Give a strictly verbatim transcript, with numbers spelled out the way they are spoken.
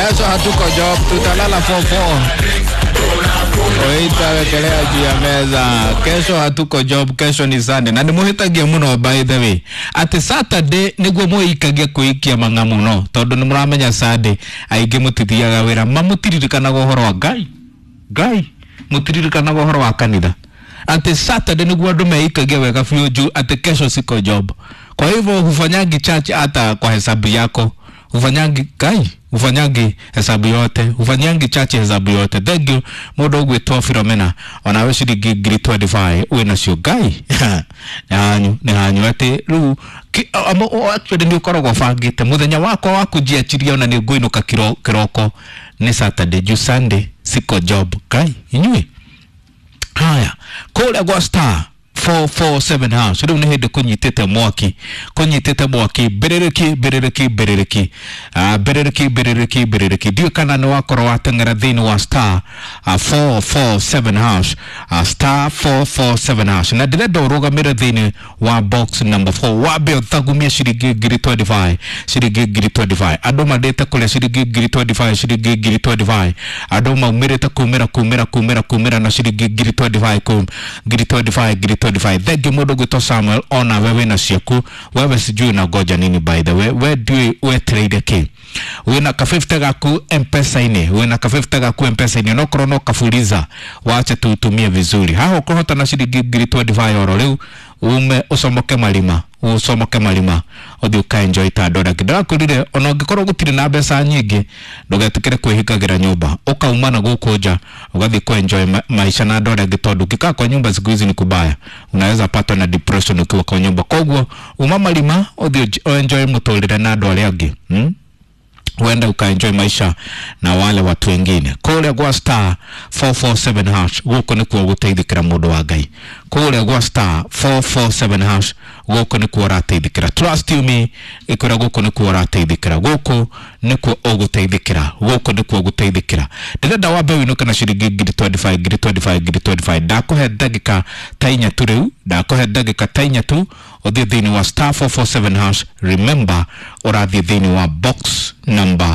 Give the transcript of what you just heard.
Kesho hatuko job, tutalala four four. Oita wekelea juu ya meza. Kesho hatuko job, kesho ni Sunday. Na nimuhitagia muno by the way. Ati Saturday niguo muikagia kuikia mang'a muno tondu ni muramenya Sunday aingi mutithiaga wira mamutiririkanaga uhoro wa Ngai. Ngai mutiririkanaga uhoro wa kanitha. Ati Saturday niguo andu meikagia wega biũ juu ati kesho siko job. Kwa hivyo hufanyangi church hata kwa hesabu yako. Hufanyangi Ngai, hufanyangi hesabu yote, hufanyangi chache hesabu yote. Thank you mundu ugwitwo Philomena, onawe ciringi ngiri twenty-five wina cio Ngai. Nĩ hanyu, nĩ hanyu ati riu actually nĩ ũkoragwo bangĩte muthenya wakwa wa kũnjiachiria ona nĩ ngũinũka kĩroko nĩ Saturday juu Sunday siko job. Ngai inyuĩ haya kũrĩa gwa star four four seven house riu nĩ hĩndĩ kũnyitĩte mwaki, kũnyitĩte mwaki mbĩrĩrĩki mbĩrĩrĩki mbĩrĩrĩki, ah mbĩrĩrĩki mbĩrĩrĩki mbĩrĩrĩki. Ndiũĩ kana nĩ wakorwo wateng'era thĩinĩ wa star four four seven house, star four four seven house, na ndĩrenda ũrũgamĩre thĩinĩ wa box number four wambe ũthagumie ciringi ngiri twenty-five, ciringi ngiri twenty-five. Andũ mandĩte kũrĩa ciringi ngiri twenty-five, ciringi ngiri twenty-five. Andũ maumĩrĩte kumĩra kumĩra kumĩra kumĩra na ciringi ngiri twenty-five kum ngiri twenty-five ngiri twenty-five. Thank you mundu gwitwo Samuel, ona wewe na ciaku wewe sijui unangoja nini by the way, we ndiũĩ wetereire kĩ. Wina ka fifty gaku M-Pesa-inĩ, wina ka fifty gaku M-Pesa-inĩ, no korwo no kafuliza wache tuutumie vizuri. Haha ũkũhota na ciringi ngiri twenty-five oro rĩu ume ucomoke marima, ucomoke marima uthi uka enjoy ta andũ arĩa angĩ. Ndĩrakwĩrire ona ũngĩkorwo gũtirĩ na mbeca nyingĩ ndũgetĩkĩre kwĩhingagĩra nyũmba, ũkauma na gũkũ nja ũgathiĩ ku enjoy ma maisha na andũ arĩa angĩ, tondũ ũngĩkaa kwa nyumba siku hizi ni kubaya, unaweza patwa na depression ukiwa kwa nyumba. Koguo uma marima ũthiĩ enjoy mũtũrĩre na andũ arĩa angĩ, hmm? Uenda ukaenjoy maisha na wale watu wengine. Kũrĩa gwa star four four seven hash gũkũ nĩkuo gũteithĩkĩra mũndũ wa Ngai. Kũrĩa gwa star four four seven hash gũkũ nĩkuo ũrateithĩkĩra. Trust you me, ĩkwĩra gũkũ nĩkuo ũrateithĩkĩra. Gũkũ nĩkuo ũgũteithĩkĩra. Gũkũ nĩkuo ũgũteithĩkĩra. Ndĩrenda wambe wĩinũke na ciringi ngiri twenty-five, ngiri twenty-five, ngiri twenty-five. Ndakũhe ndagĩka ta inya tu rĩu, ndakũhe ndagĩka ta inya tu ũthiĩ thĩinĩ wa star four four seven hash. Remember ũrathiĩ thĩinĩ wa box number